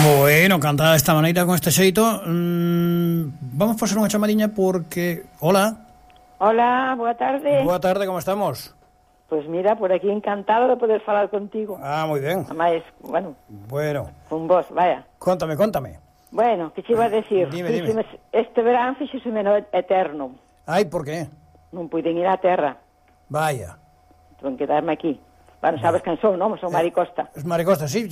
Bueno, cantada de esta maneira, con este xeito, vamos pasar unha chamadiña porque... Hola. Hola, boa tarde. Boa tarde, como estamos? Pues mira, por aquí encantado de poder falar contigo. Ah, moi ben. Además, bueno, con vos, vaya. Contame. Bueno, que che iba a decir? Dime. Este verán fixoseme eterno. Ai, por qué? Non puiden ir á terra. Vaya. Tuven que quedarme aquí. Bueno, sabes quen son, non? Son Mari Costa. Es Mari Costa, sí.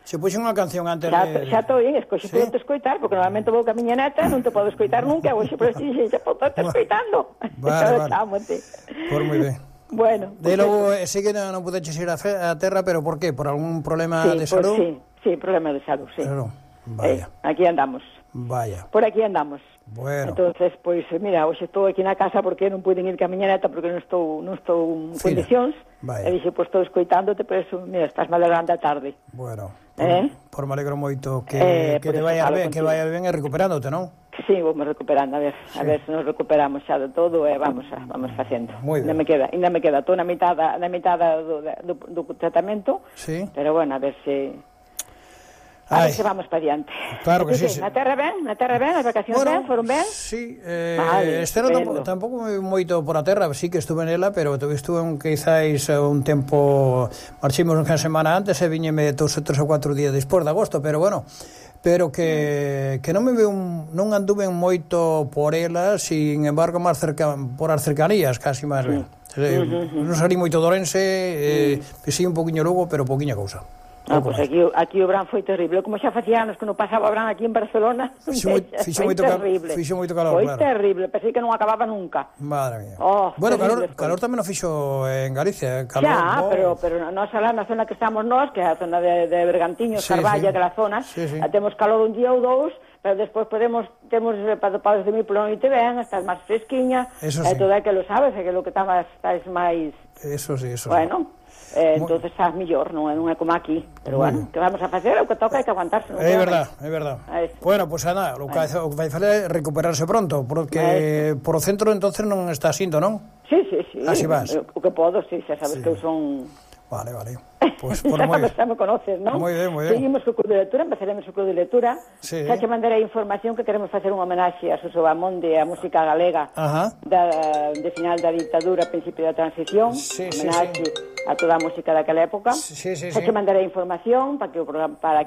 Se puxen unha canción antes de... Xa estou bien, podo escoitar, porque normalmente vou ca miña neta, non te podo escoitar nunca, hoxe por este xa podo estar escoitando. Vale. Por moi ben. Bueno. De logo, sí que non pudeches ir á terra, pero por qué? Por algún problema de salud? Sí, problema de salud, sí. Claro, vaya. Aquí andamos. Vaya. Por aquí andamos. Bueno. Entonces, pois, mira, hoxe estou aquí na casa porque non puiden ir ca miña neta porque non estou en condicións. E dixe, pois estou escoitándote, pero eso, mira, estás malogrando a tarde. Bueno, por me alegro moito que te vaya ben, que vaya ben e recuperándote, non? Sí, vamos recuperando, a ver se nos recuperamos xa de todo e vamos facendo. Ainda me queda, estou na mitad do tratamento. Sí. Pero bueno, a ver se vamos para diante. Claro que sí. Na terra ben, as vacacións ben, foron ben? Sí, este ano tampouco moito por a terra, sí que estuve nela, pero estuve quizáis un tempo, marchimos unha semana antes e viñeme 2 ou 4 días despois de agosto, pero bueno, pero que non non anduve moito por ela, sin embargo, máis por as cercanías, casi máis ben. Non salí moito de Ourense, pisei un poquinho Lugo, pero poquinha cousa. Pois aquí o verán foi terrible. Como xa facía anos que non pasaba o verán aquí en Barcelona, fixo moito calor, foi terrible, pensei que non acababa nunca. Madre mía. Bueno, calor tamén o fixo en Galicia. Xa, pero nós alá na zona que estamos nós, que é a zona de Bergantiños, Carballa, aquela zona, temos calor un día ou dous, pero despois temos podes dormir pola noite ben, estás máis fresquiña, e todo aquilo, sabes, aquilo que estás máis... Eso sí. Bueno... entonces estás mellor, non é como aquí, pero bueno, que vamos a facer, o que toca é que aguantarse. É verdad. Bueno, pois nada, o que vai fazer é recuperarse pronto, porque por o centro entonces non está asindo, non? Sí. Así vas. O que podo, sí, xa sabes que eu son... Vale. Pues por xa me conoces, non? Moi ben. Seguimos co club de lectura, empezaremos o club de lectura. Xa te mandarei información que queremos facer unha homenaxe a Suso Bamonde, a música galega de final da dictadura, principio da transición, homenaxe a toda a música daquela época. Xa te mandarei información para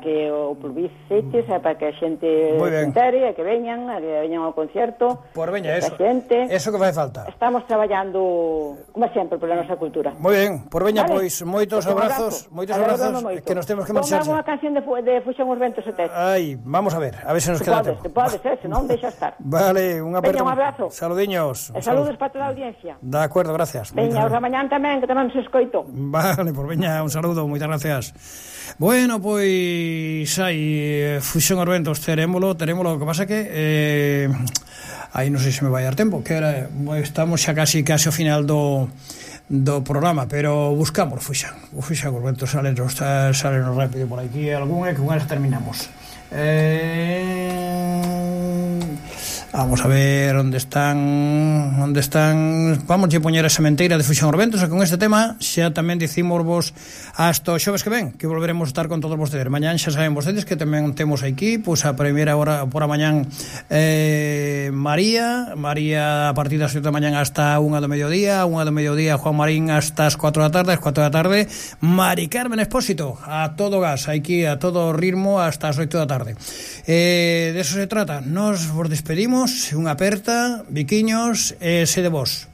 que o publicites, para que a xente se entere, que veñan ao concerto. Por veña, eso que fai falta. Estamos traballando, como sempre, pola nosa cultura. Moi ben, por veña, pois, moitos abrazos, que nos temos que marchar. Ponga unha canción de Fuxan os ventos e teces. Ai, vamos a ver se nos queda tempo. Pode ser, senón deixa estar. Vale, un abrazo. Saludiños. E saludos para toda a audiencia. De acordo, gracias. Veña, os da mañán tamén, que tamén nos escoito. Vale, por veña, un saludo, moitas gracias. Bueno, pois, Fuxan os ventos, terémolo, o que pasa que aí non sei se me vai dar tempo, que estamos xa casi ao final do programa, pero buscamos Fuxan os ventos, salen rápido por aquí algún e con elas terminamos. Vamos a ver onde están. Vamos a poñer a sementeira de Fuxan os ventos, e con este tema xa tamén dicimos vos hasta o xoves que ven, que volveremos a estar con todos vostedes. Mañán xa saben vostedes que tamén temos aquí pois a primeira hora por a mañán María a partir das 7 da mañán hasta 1 do mediodía Juan Marín hasta as 4 da tarde, Mari Carmen Expósito a todo gas, aquí a todo ritmo hasta as 8 da tarde. De eso se trata. Nos vos despedimos, unha aperta, biquiños, sede vos.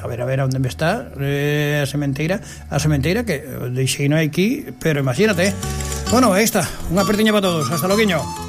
A ver onde me está a sementeira que deixei no aquí, pero imagínate. Bueno, aí está, unha apertiña para todos, hasta loguiño.